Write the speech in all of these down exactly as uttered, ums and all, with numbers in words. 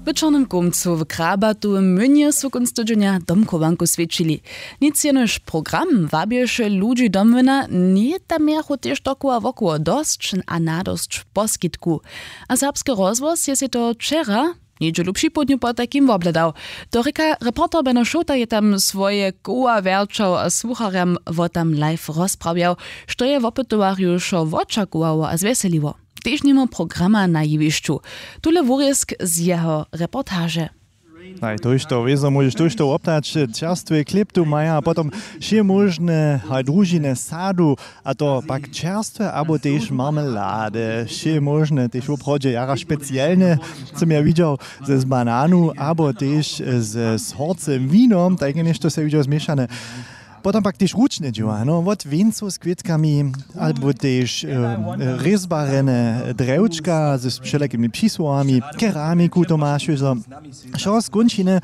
W čornym kómcu w krabatowym młynje su kónc tydźenja domchowanku swjećili. Nic jenož program wabješe ludźi domłyna, njeje tam mějachu tež dokoła wokoło dosć a nadosć poskitku. A serbski rozhłos je sej to wčera njedźelu připołdnju potajkim wobhladał. To rěka reporter beno šołta je tam swoje koła wjerćał a słucharjam wo tam live rozprawjał, što je wopytowarju wšo wočakowało a zwjeseliło. Tež nimo programa na jewišću. Tule wurězk z jeho reportaže. Haj tójšto wězo móžeš tójšto woptać. Čerstwy klip tu maja a potom wšě móžne haj družiny sadu, a to pak čerstwe abo tež marmelady wšě móžne tež woprawdźe jara specielne, sym ja widźał, z bananu abo tež z horcym winom tajke něšto se widźał zmišane. Potom pak tež ručne dźěła no wot wěncow z kwětkami, abo tež rězbarjene drjewčka z wšelakimi přisłowami, keramiku tomašužo, wšo z kónčiny.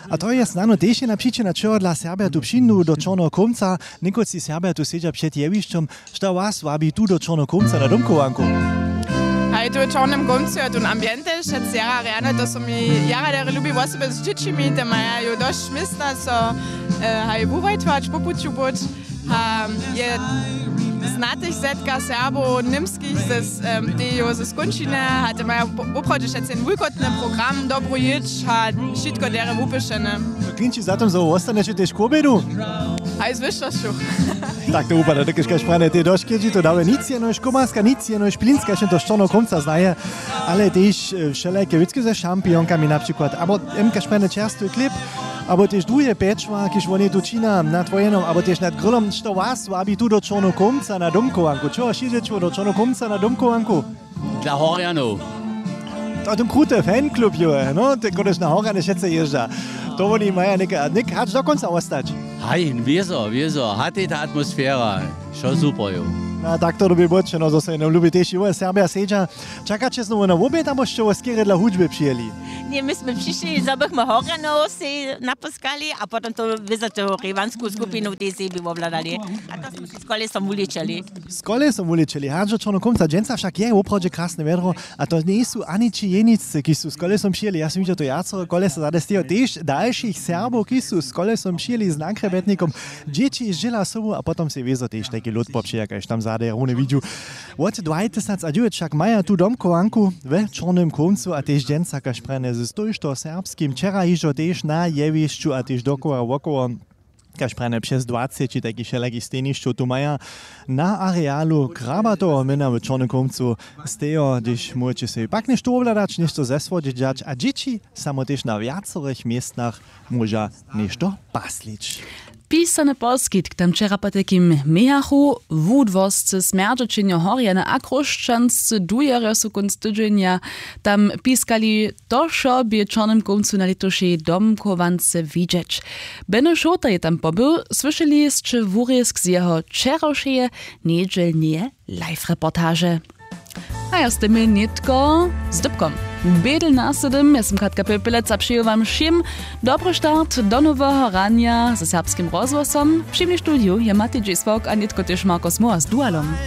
A to je snano tež jedna přičina čehodla serbja tu přińdu do čorneho kómca. Někotři serbja tu sedźa před jewišćom. Što was wabi tu do čorneho kómca na domchowanku? Haj tu w čornym kómcu je tón ambiente wšetc jara rjane, to so mi jara derje lubi, wosebje z dźěćimi te maja ju dosć města so haj wuwajtwać po puću bóć. A je znatych zetka serbow němskich ze tej jo ze skónčiny a te maja woprawdźe wšetc jen wulkotny program, dobru jědź a wšitko derje wupyšene. Klinči za tym zo wostaneće tež k wobjedu? Haj z wyšćosću. Tak to wupada dokelž kaž prane tej dosć kedźi to dawe nic jenož komarska nic jenož plinska šen to šćorneho kómca znaje. Ale tež wšelajke wěcki ze šampionkami na přikład abo, kaž prane čerstwy klip, abo tež druhe pječła kiž woni tu čina nad wojenom abo tež nad grylom što was wabi tu do čorneho kómca na domchowanku čeho šědźeću do čorneho kómca na domchowanku? Dla horjanow. To tym krute fanklub jo no te kodež na horjane wšetce jězdźa. To woni maja něke a něk hač do kónca wostać. Haj wězo wězo hatej ta atmosfera, wšo super jo. A tak to dyrbi bóćeno zo so jednym lubi tež jowe serbja sedźa. Čakaće znowu na wobjed abo sće wo skerje dla hudźby přijěli? Ně my smy přišli zo bychmy horjanow sej napóskali a potom to wězo tu rewansku skupinu tej sebi wobhladali. A to smy šli z kolesom wuličeli. Z kolesom wuličeli hač do čorneho kómca dźensa wšak je woprawdźe krasne wjedro. A to njejsu ani ći jeniccy kiž su z kolesom přijěli ja sym widźał to wjacore kolesa zady stejo tež dalšich serbow kiž su z kolesom přijěli z nakrjebjetnikom. Dźěći zdźěla sobu a potom sej wězo tež tajki lód popřeja kaž tam zady runje widźu. Wot dwajtysacadźewjeć wšak maja tu domchowanku we čornym kómcu a tež dźensa kaž prjene z tójšto serbskim wčera hižo tež na jewišću a tež dokoła wokoło. Kaž prjene přez dwaceći tajkich wšelakich stejnišćow tu maja na arealu krabatoweho młyna w čornym kómcu. Stejo hdyž móžeće sej pak něšto wobhladać něšto zesłodźić a dźěći samo tež na wjacorych městnach móža něšto paslić. Pisany poskitk tam wčera potajkim mějachu wudłoscy smjerdźećenjo horjane a chróšćanscy dujerjo su kónc tydźenja tam piskali. To wšo bě w čornym kómcu na lětušej domchowance widźeć. Beno šołta je tam pobył słyšeli sće wurězk z jeho wčerawšeje njedźelneje live reportaže. A ja z tym je nětko z dypkom. Bědel na sydym ja sym katka pepelec a přeju wam wšěm dobry start do noweho ranja ze serbskim rozhłosom. Při mni w studiju je matej dźěsławk a nětko tež marko smoła z dualom.